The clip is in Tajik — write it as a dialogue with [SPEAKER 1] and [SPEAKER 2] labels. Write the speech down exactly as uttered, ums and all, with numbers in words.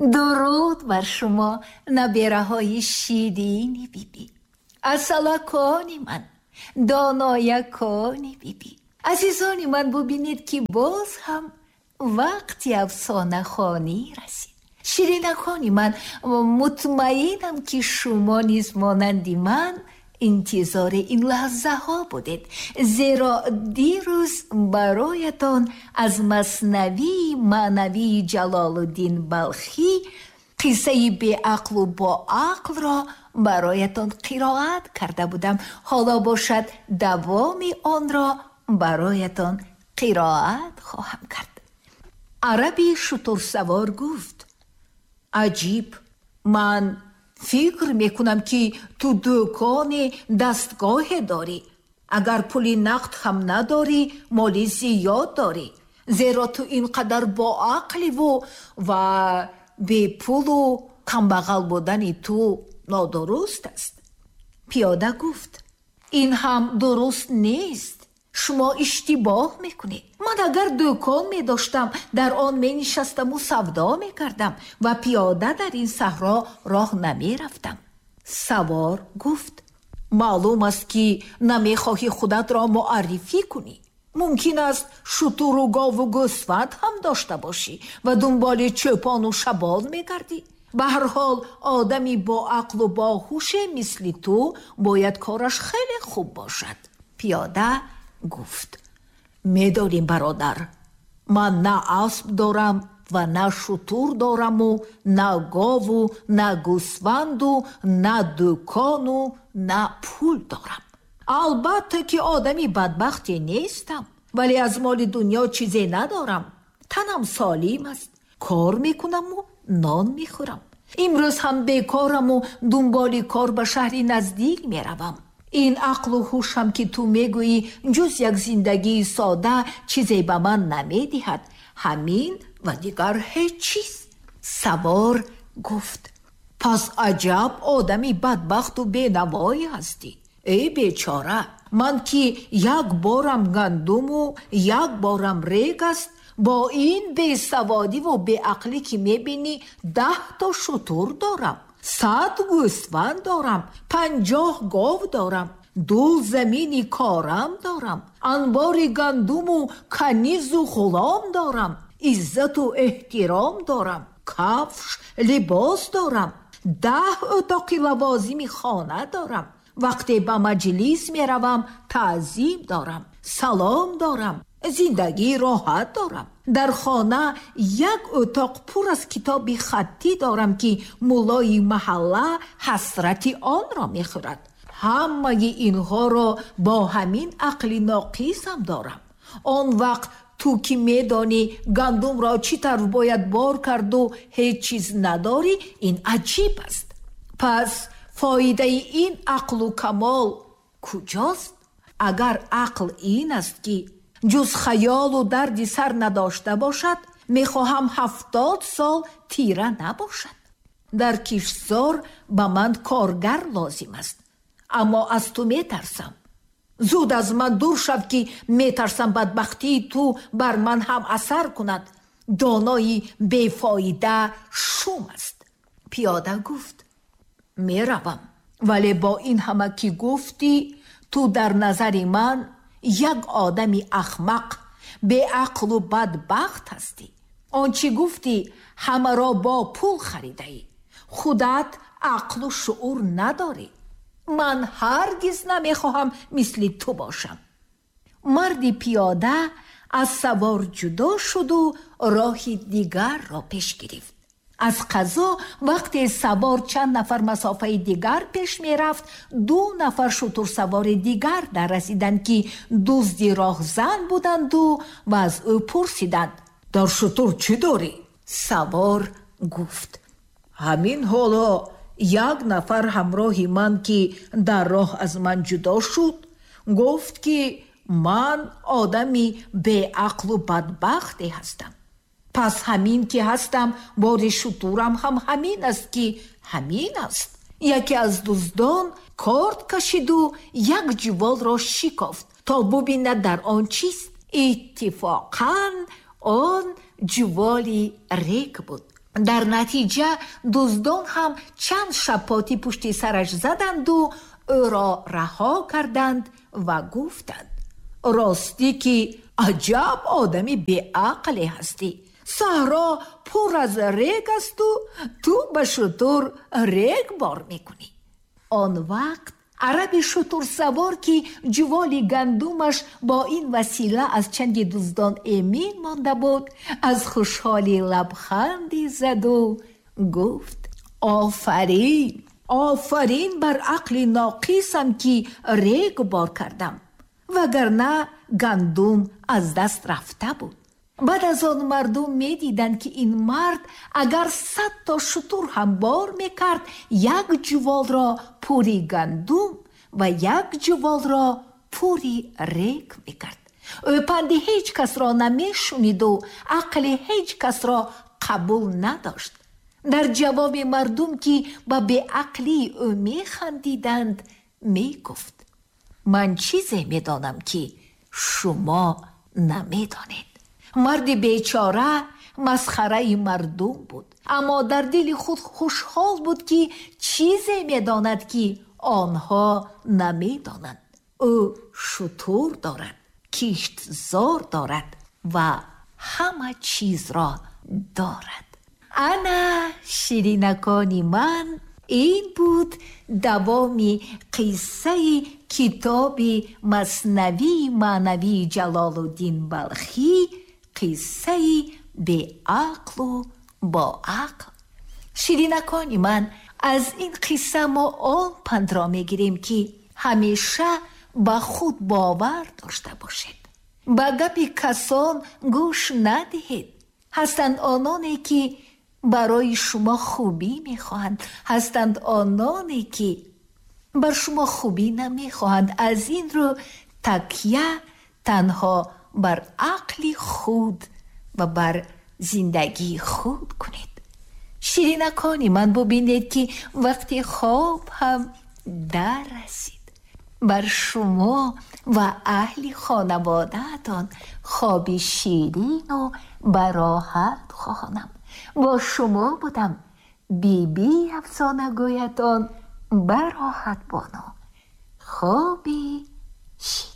[SPEAKER 1] Дуруд бар шумо, набераҳои ширини бибӣ, асалакони ман, доноякони бибӣ. Азизони ман, бубинед, ки боз ҳам вақти афсонахонӣ расид. Ширинакони ман, мутмаинам, ки шумо низ монанди ман интизори ин лаҳзаҳо будед, зеро дирӯз бароятон аз Маснавии маънавии Ҷалолуддин Балхӣ қиссаи беақлу боақлро бароятон қироат карда будам. Ҳоло бошад, давоми онро бароятон қироат хоҳам кард. Араби шутурсавор гуфт: аҷиб, ман фикр мекунам, ки ту дукони дастгоҳе дорӣ. Агар пули нақд ҳам надорӣ, моли зиёд дорӣ, зеро ту ин қадар боақливу ва бепулу камбағал будани ту нодуруст аст. Пиёда гуфт: ин ҳам дуруст нест, шумо иштибоҳ мекунед. Ман агар дукон медоштам, дар он менишастаму савдо мекардам ва пиёда дар ин саҳро роҳ намерафтам. Савор гуфт: маълум аст, ки намехоҳӣ худатро муаррифӣ кунӣ. Мумкин аст, шутуру гову гӯсфанд ҳам дошта бошӣ ва дунболи чӯпону шабон мегардӣ. Ба ҳар ҳол, одами боақлу боҳуше мисли ту бояд кораш хеле хуб бошад. Пиёда гуфт: медонӣ, бародар, ман на асп дорам ва на шутур дораму на гову на гӯсфанду на дукону на пул дорам. Албатта, ки одами бадбахте нестам, вале аз моли дунё чизе надорам. Танам солим аст, кор мекунаму нон мехӯрам. Имрӯз ҳам бекораму дунболи кор ба шаҳри наздик меравам. Ин ақлу ҳушам, ки ту мегӯӣ, ҷуз як зиндагии сода чизе ба ман намедиҳад. Ҳамин ва дигар ҳеҷ чиз. Савор гуфт: пас аҷаб одами бадбахту бенавое ҳастӣ. Эй бечора, ман ки як борам гандуму як борам рег аст, бо ин бесаводиву беақлӣ, ки мебинӣ, даҳто шутур дорам, сад гӯсфанд дорам, панҷоҳ гов дорам, ду замини корам дорам, анбори гандуму канизу ғулом дорам, иззату эҳтиром дорам, кафш либос дорам, даҳ утоқи лавозими хона дорам. Вақте ба маҷлис меравам, таъзим дорам, салом дорам, зиндагии роҳат дорам. Дар хона як утоқ пур аз китоби хаттӣ дорам, ки муллои маҳалла ҳасрати онро мехӯрад. Ҳамаи инҳоро бо ҳамин ақли ноқисам дорам. Он вақт ту, ки медонӣ гандумро чӣ тавр бояд бор карду ҳеҷ чиз надорӣ, ин аҷиб аст. Пас фоидаи ин ақлу камол куҷост? Агар ақл ин аст, ки ҷуз хаёлу дарди сар надошта бошад, мехоҳам ҳафтод сол тира набошад. Дар киштзор ба ман коргар лозим аст, аммо аз ту метарсам. Зуд аз ман дур шав, ки метарсам бадбахтии ту бар ман ҳам асар кунад. Донои бефоида шум аст. Пиёда гуфт: меравам, вале бо ин ҳама, ки гуфтӣ, ту дар назари ман як одами ахмақ, беақлу бадбахт ҳастӣ. Он чӣ гуфтӣ, ҳамаро бо пул харидаӣ. Худат ақлу шуур надорӣ. Ман ҳаргиз намехоҳам мисли ту бошам. Марди пиёда аз савор ҷудо шуду роҳи дигарро пеш гирифт. Аз қазо вақте савор чанд нафар масофаи дигар пеш мерафт, ду нафар шутурсавори дигар даррасиданд, ки дузди роҳзан буданду ва аз ӯ пурсиданд: дар шутур чӣ дорӣ? Савор гуфт: ҳамин ҳоло як нафар ҳамроҳи ман, ки дар роҳ аз ман ҷудо шуд, гуфт, ки ман одами беақлу бадбахте ҳастам. Пас ҳамин ки ҳастам, бори шутурам ҳам ҳамин аст, ки ҳамин аст. Яке аз дуздон корд кашиду як ҷуволро шикофт, то бубинад, дар он чист. Иттифоқан он ҷуволи рег буд. Дар натиҷа дуздон ҳам чанд шапоти пушти сараш заданду ӯро раҳо карданд ва гуфтанд: ростӣ ки аҷаб одами беақле ҳастӣ. Саҳро пур аз рег асту ту ба шутур рег бор мекунӣ. Он вақт араби шутурсавор, ки ҷуволи гандумаш бо ин васила аз чанги дуздон эмин монда буд, аз хушҳолӣ лабханде заду гуфт: офарин, офарин бар ақли ноқисам, ки рег бор кардам, вагарна гандум аз даст рафта буд. Баъд аз он мардум медиданд, ки ин мард агар сад то шутур ҳам бор мекард, як ҷуволро пури гандум ва як ҷуволро пури рег мекард. Ӯ панди ҳеҷ касро намешуниду ақли ҳеҷ касро қабул надошт. Дар ҷавоби мардум, ки ба беақлии ӯ механдиданд, мегуфт: ман чизе медонам, ки шумо намедонед. Марди бечора масхараи мардум буд, аммо дар дили худ хушҳол буд, ки чизе медонад, ки онҳо намедонанд. Ӯ шутур дорад, киштзор дорад ва ҳама чизро дорад. Ана, ширинакони ман, ин буд давоми қиссаи китоби Маснавии маънавии Ҷалолуддин Балхӣ, қиссаи беақлу боақл. Ширинакони ман, аз ин қисса мо он пандро мегирем, ки ҳамеша ба худ бовар дошта бошед, ба гапи касон гӯш надиҳед. Ҳастанд ононе, ки барои шумо хубӣ мехоҳанд, ҳастанд ононе, ки бар шумо хубӣ намехоҳанд. Аз ин рӯ такя танҳо бар ақли худ ва бар зиндагии худ кунед. Ширинакони ман, бубинед, ки вақти хоб ҳам дар расид. Бар шумо ва аҳли хонаводаатон хоби ширину бароҳат хоҳонам. Бо шумо будам Биби Афсонагӯятон Бароҳат Бону. Хоби ширин.